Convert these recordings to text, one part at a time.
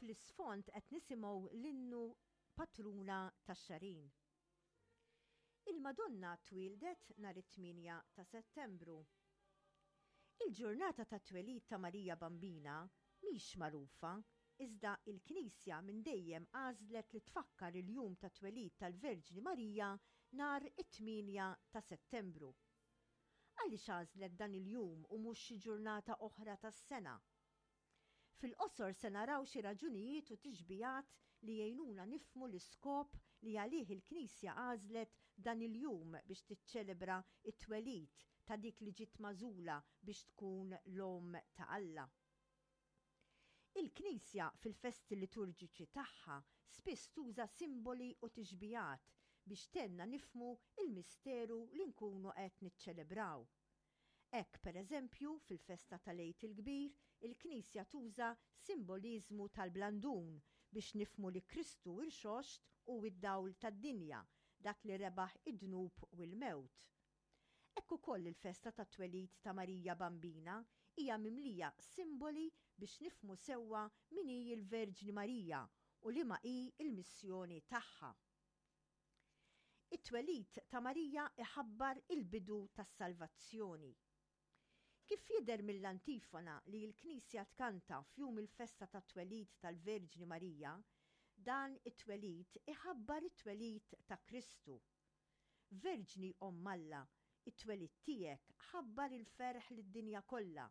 Fl-isfond qed nisimgħu l-innu Patruna tax-Xagħrin. Il-Madonna twieldet nhar it-8 ta' Settembru. Il-ġurnata tat-twelid ta' Marija Bambina mhix magħrufa, iżda il-Knisja minn dejjem għażlet li tfakkar il-jum tat-twelid tal-Verġni Marija nhar it-8 ta' Settembru. Għaliex għażlet dan il-jum u mhux xi ġurnata oħra tas-sena? Fil-qosor se naraw xi raġunijiet u tixbihat li jgħinuna nifhmu l-iskop li għalih il-Knisja għażlet dan il-jum biex tiċċelebra t-twelid ta' dik li ġiet magħżula biex tkun l-Omm ta' Alla. Il-Knisja fil-festi liturġiċi tagħha spiss tuża simboli u tixbihat biex tgħinna nifhmu l-misteru li nkunu qed niċċelebraw. Hekk, per eżempju, fil-festa tal-Għid il-Kbir, il-Knisja tuża simboliżmu tal-blandun biex nifhmu li Kristu Rxoxt hu d-dawl tad-dinja, dak li rebaħ id-dnub u l-mewt. Hekk ukoll il-festa tat-twelid ta' Marija Bambina hija mimlija simboli biex nifhmu sewwa min hi l-Verġni Marija u liema hi l-missjoni tagħha. It-twelid ta' Marija iħabbar il-bidu tas-salvazzjoni. Kif jidher mill-antifona li l-Knisja tkanta f'jum il-festa tat-twelid tal-Verġni Marija, dan it-twelid iħabbar it-twelid ta' Kristu. Verġni Omm Alla, it-twelid tiegħek ħabbar il-ferħ lid-dinja kollha,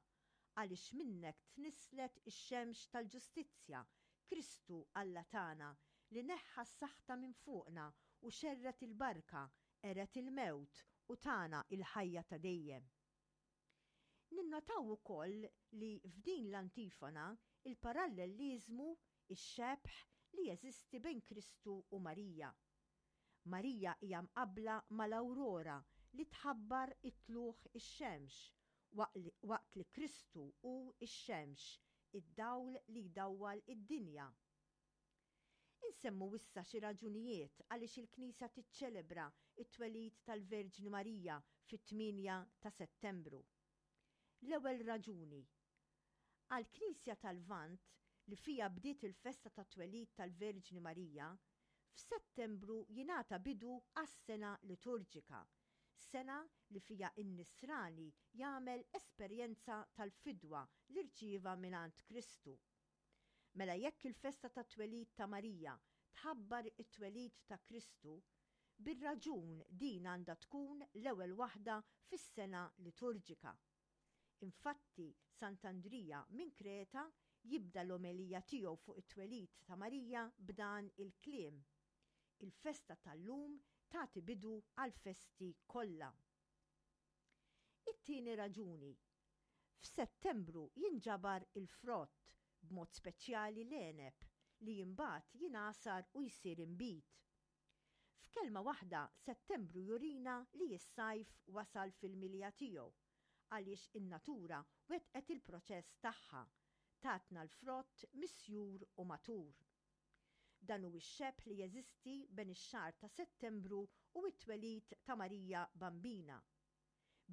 għaliex minnek tnisslet ix-xemx tal-ġustizzja, Kristu Alla tagħna, li neħħa s-saħta minn fuqna u xerred il-barka, qered il-mewt u tana l-ħajja ta' dejjem. Ninnotaw ukoll li f'din l-antifona il-parallelliżmu, ix-xebh, li jeżisti bejn Kristu u Marija. Marija hija mqabbla mal-awrora li tħabbar it-tlugħ ix-xemx, waqt li Kristu hu x-xemx, id-dawl li jdawwal id-dinja. Insemmu issa xi raġunijiet għaliex il-Knisja tiċċelebra t-twelid tal-Verġni Marija fit-8 ta' Settembru. L-ewwel raġuni, Għall-Knisja tal-Lvant, li fiha bdiet il-festa tat-twelid tal-Verġni Marija, f'Settembru jingħata bidu għas-sena liturġika, sena li fiha n-Nisrani jagħmel esperjenza tal-fidwa li rċieva mingħand Kristu. Mela jekk il-festa tat-twelid ta' Marija tħabbar it-twelid ta' Kristu, bir-raġun din għandha tkun l-ewwel waħda fis-sena liturġika. Infatti, Sant'Andrija minn Kreta jibda l-omelija tiegħu fuq it-twelid ta' Marija b'dan il-kliem, Il-festa tal-lum tagħti bidu għall-festi kollha. It-tieni raġuni, F'Settembru jinġabar il-frott, b'mod speċjali l-għeneb, li imbagħad jingħasar u jsir inbid. F'kelma waħda, Settembru jurina li s-sajf wasal fil-milja tiegħu, għaliex in-natura wettqet il-proċess tagħha, tatna l-frott misjur u matur. Dan hu x-xebh li jeżisti ben ix-xahar ta' Settembru u t-twelid ta' Marija Bambina.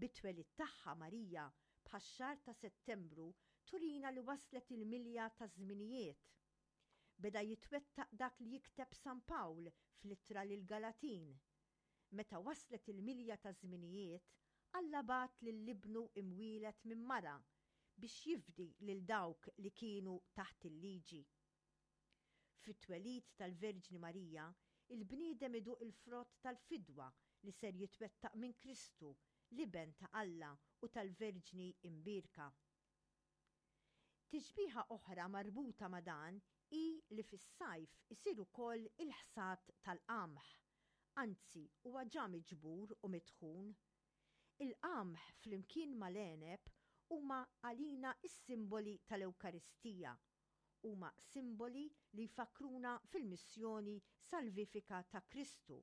Bit-twelid tagħha Marija, bħax-xahar ta' Settembru, turina li waslet il-milja taż-żminijiet. Beda jitwettaq dak li jikteb San Pawl fl-Ittra lill-Galatin, Meta waslet il-milja taż-żminijiet, Alla bagħat lil Ibnu imwieled minn mara biex jifdi lil dawk li kienu taħt il-liġi. Fit-twelid tal-Verġni Marija, il-bniedem iduq il-frott tal-fidwa li ser jitwettaq minn Kristu, l-Iben ta' Alla u tal-Verġni Imbierka. Tixbiha oħra marbuta ma' dan hi li fis-sajf isir ukoll il-ħsad tal-qamħ, anzi huwa ġa miġbur u mitħun. Il-qamħ flimkien mal-għeneb huma għalina s-simboli tal-Ewkaristija. Huma simboli li jfakkruna fil-missjoni salvifika ta' Kristu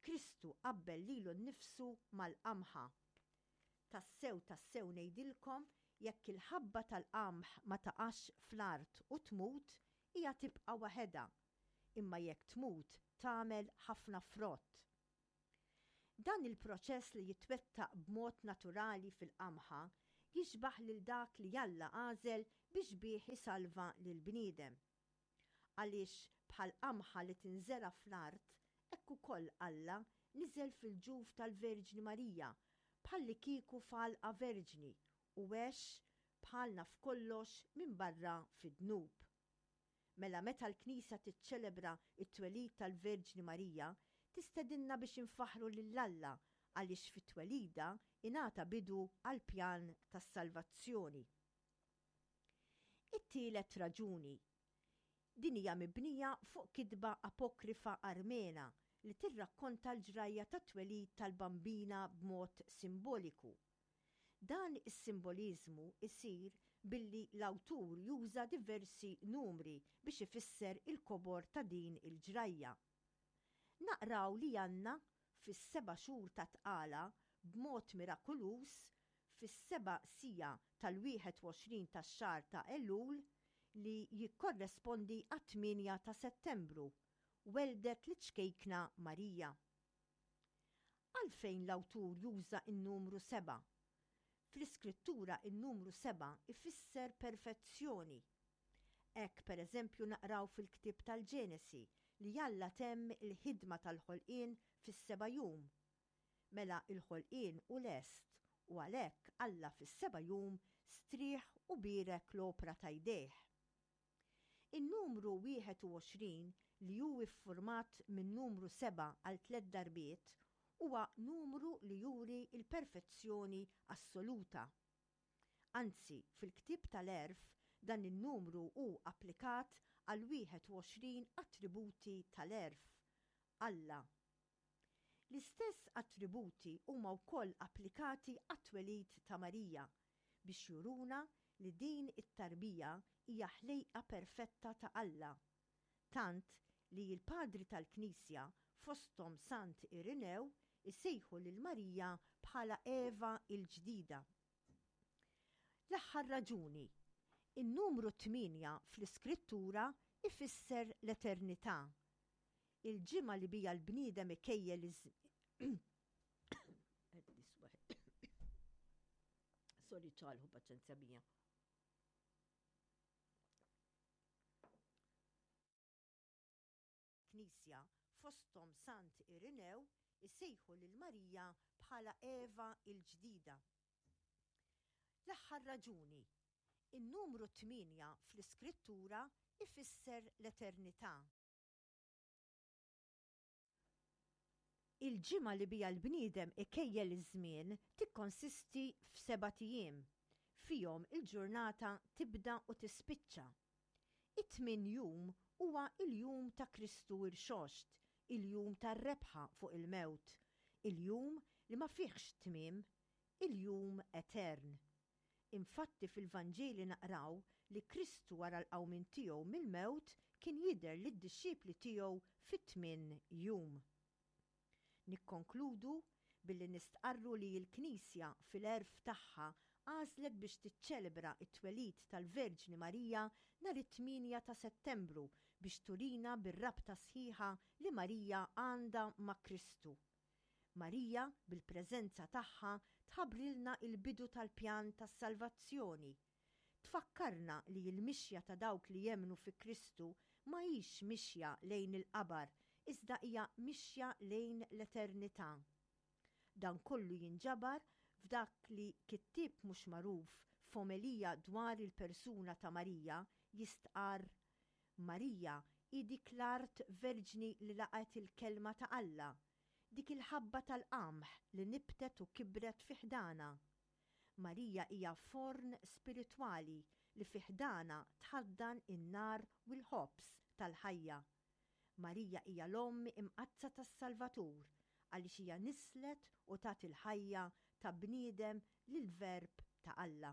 Kristu qabbel lilu nnifsu mal-qamħa. Tassew, tassew ngħidilkom, jekk il-ħabba tal-qamħ ma taqax fl-art u tmut, hija tibqa' waħedha, imma jekk tmut tagħmel ħafna frott. Dan il-proċess li jitwettaq b'mod naturali fil-qamħa jixbah lil dak li Alla għażel biex bih isalva lill-bniedem. Għaliex bħal qamħa li tinżera' fl-art, hekk ukoll Alla niżel fil-ġuf tal-Verġni Marija bħallikieku f'għalqa verġni u għex bħalna f'kollox minbarra fid-dnub. Mela meta l-Knisja tiċċelebra t-twelid tal-Verġni Marija, tistedinna biex infaħħru lil Alla għaliex fi twelidha ingħata bidu għall-pjan tas-salvazzjoni. It-tielet raġuni. Din hija mibnija fuq kitba apokrifa Armena li tirrakkonta l-ġrajja tat-twelid tal-Bambina b'mod simboliku. Dan is-simboliżmu jsir billi l-awtur juża diversi numri biex ifisser il-kobor ta' din il-ġrajja. Naqraw li Anna, fis-seba' xhur ta' tqala, b'mod mirakuluż, fis-seba' siegħa tal-21 tax-xahar ta' Elul, li jikkorrespondi għat-tmienja ta' Settembru, welldet liċ-ċkejkna Marija. Għalfejn l-awtur juża n-numru sebgħa? Fl-Iskrittura n-numru sebgħa jfisser perfezzjoni. Hekk, per eżempju, naqraw fil-ktieb tal-Ġenesi li Alla temm il-ħidma tal-ħolqien fis-seba' jum. Mela l-ħolqien hu lest u għalhekk Alla fis-seba' jum strieħ u bierek l-opra ta' jdejh. In-numru 21, li hu ffurmat min-numru sebgħa għal tlett darbiet, huwa numru li juri l-perfezzjoni assoluta. Anzi, fil-ktieb tal-Għerf dan in-numru hu applikat għall-21 attributi tal-għerf, Alla. L-istess attributi huma wkoll applikati għat-twelid ta' Marija biex juruna li din it-tarbija hija ħlejqa perfetta ta' Alla. Tant li l-Padri tal-Knisja, fosthom Sant Irinew, isejħu lil Marija bħala Eva l-ġdida. L-aħħar raġuni, in-numru tmienja fl-Iskrittura jfisser l-eternità. Il-ġimgħa li biha l-bniedem ikejjel iż Sorry ċalħu paċenzja bija. Knisja, fosthom Sant Irinew, isejħu lil Marija bħala Eva l-ġdida. L-aħħar raġuni, in-numru tmienja fl-Iskrittura ifisser l-eternità. Il-ġimgħa li biha l-bniedem ikejjel iż-żmien tikkonsisti f'sebat ijiem. Fihom il-ġurnata tibda u tispiċċa. It-tmien jum huwa l-jum ta' Kristu Rxoxt, il-jum tar-rebħa fuq il-mewt, il-jum li ma fihx tmiem, il-jum etern. Infatti fil-Vanġeli naqraw li Kristu wara l-qawmien tiegħu mill-mewt kien jidher lid-dixxipli tiegħu fit-tmien jum. Nikkonkludu billi nistqarru li l-Knisja fil-għerf tagħha għażlet biex tiċċelebra t-twelid tal-Verġni Marija nhar it-tmienja ta' Settembru biex turina bir-rabta sħiħa li Marija għandha ma' Kristu. Marija, bil-preżenza tagħha, tħabbrilna l-bidu tal-pjan tas-salvazzjoni. Tfakkarna li l-mixja ta' dawk li jemmnu fi Kristu ma hix mixja lejn il-qabar iżda hija mixja lejn l-eternità. Dan kollu jinġabar f'dak li kittieb mhux magħruf f'omelija dwar il-persuna ta' Marija jistqarr, Marija hi dik l-art verġni li laqgħet il-Kelma ta' Alla, dik il-ħabba tal-qamħ li nibtet u kibret fi ħdanha. Marija hija forn spiritwali li fi ħdanha tħaddan in-nar u l-ħobż tal-ħajja. Marija hija l-Omm Imqaddsa tas-Salvatur għaliex hija nisslet u tat il-ħajja ta' bniedem lill-Verb ta' Alla.